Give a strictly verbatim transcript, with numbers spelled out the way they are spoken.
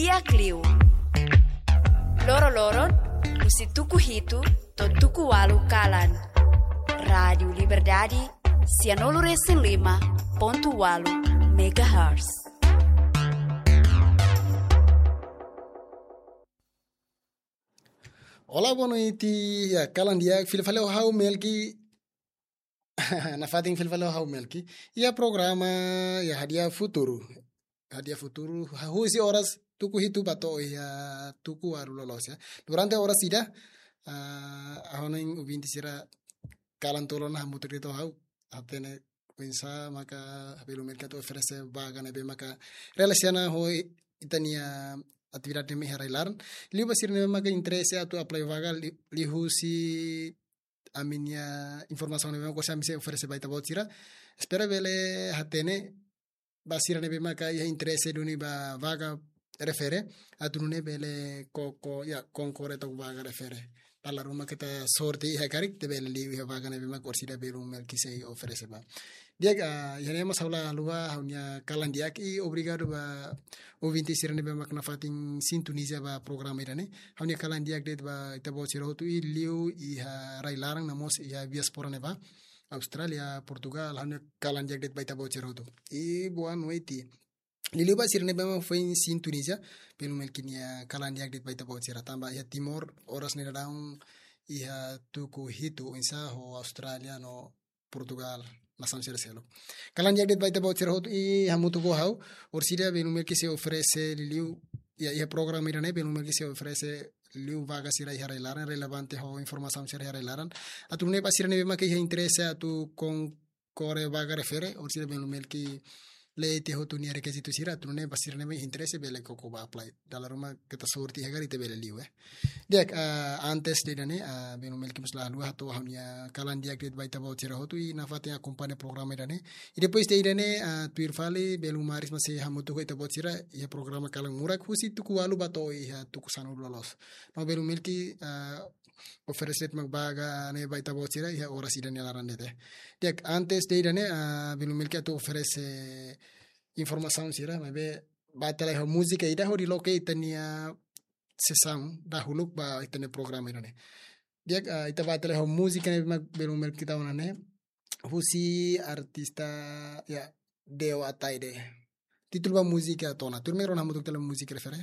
Di'ak liu. Loroloron, husi tuku hitu to'o tuku ualu kalan. Rádiu Liberdade, sianulu-resin-lima pontu ualu megahertz. Olá, boa noite. Ya, kalan di'ak, fila fali ho ha'u Melki. Nafatin fila fali ho ha'u Melki. Iha programa, ya, Hadi'a Futuru. Hadi'a Futuru, ha, husi oras tuku hitu ba to'o iha tuku ualu loloos, ya. Durante oras ida, ah, ha'u-nia ouvinte sira kalan tolu ona hamutuk de'it ho ha'u. Hatene oinsá maka belun Melki atu oferese vaga ne'ebé maka relasiona ho i-, ita-nia atividade ne'e iha rai-laran. Liu ba sira ne'ebé maka interese atu apply vaga li-, liuhusi ami-nia informasaun ne'ebé maka orsida ami sei oferese ba ita-boot sira. Espera bele hatene ba sira ne'ebé maka iha interese duni ba vaga refere, atu nune'e bele koko, ya, konkorre to'o vaga refere. Dala ruma keta sorte iha karik, ita bele liu iha vaga ne'ebé maka orsida belun Melki sei oferese ba. Di'ak, ah, iha ne'e mós ha'u la haluha ha'u-nia kalan di'ak i obrigadu ba ouvinte sira ne'ebé maka nafatin sintoniza ba programa ida-ne'e. Ha'u-nia kalan di'ak de'it ba ita-boot sira hotu i liu iha rai-laran no mós iha diáspora ne'ebá. Austrália, Portugal, ha'u-nia kalan di'ak de'it ba ita-boot sira hotu. I boa noite. Liuliu ba sira ne'ebé maka foin sintoniza, belun Melki nia kalan di'ak de'it ba ita-boot sira tanba iha Timor, oras ne'e daudaun iha tuku hitu oinsá ho Austrália no Portugal, nasaun sira seluk. Kalan di'ak de'it ba ita-boot sira hotu i hamutuk ho ha'u, orsida belun Melki sei oferese liuliu, ya, iha programa ida-ne'e belun Melki sei oferese liu vaga sira iha rai-laran, relevante ho informasaun sira iha rai-laran. Atu nune'e ba sira ne'ebé maka iha interese atu konkorre vaga refere, orsida belun Melki lete hotu nia rekizitu sira, atu nune'e ba sira ne'ebé interese bele koko ba apply. Dala ruma keta sorte iha karik ita bele liu, eh. Di'ak, ah, antes de ida-ne'e, ah, belun Melki mós la haluha hato'o ha'u-nia kalan di'ak de'it ba ita-boot sira hotu i nafatin akompaña programa ida-ne'e. I depois de ida-ne'e, ah, tuir fali, belun Maris mós sei hamutuk ho ita-boot sira iha programa Kalan Murak husi tuku ualu ba to'o iha tuku sanulu loloos. No belun Melki, ah, oferese mak vaga ne'e ba ita-boot sira iha oras ida-ne'e laran de'it. Di'ak, antes de ida-ne'e, ah, belun Melki atu oferese informasaun sira, maibé bá tiha lai ho múzika ida hodi loke ita-nia sesaun dahuluk ba ita-nia programa ida-ne'e. Di'ak, ah, ita bá tiha lai ho múzika ne'ebé mak belun Melki tau ona ne'e, husi artista, ya, Deo Ataide. Títulu ba múzika to'o ona. Tuirmai rona hamutuk tiha lai múzika refere.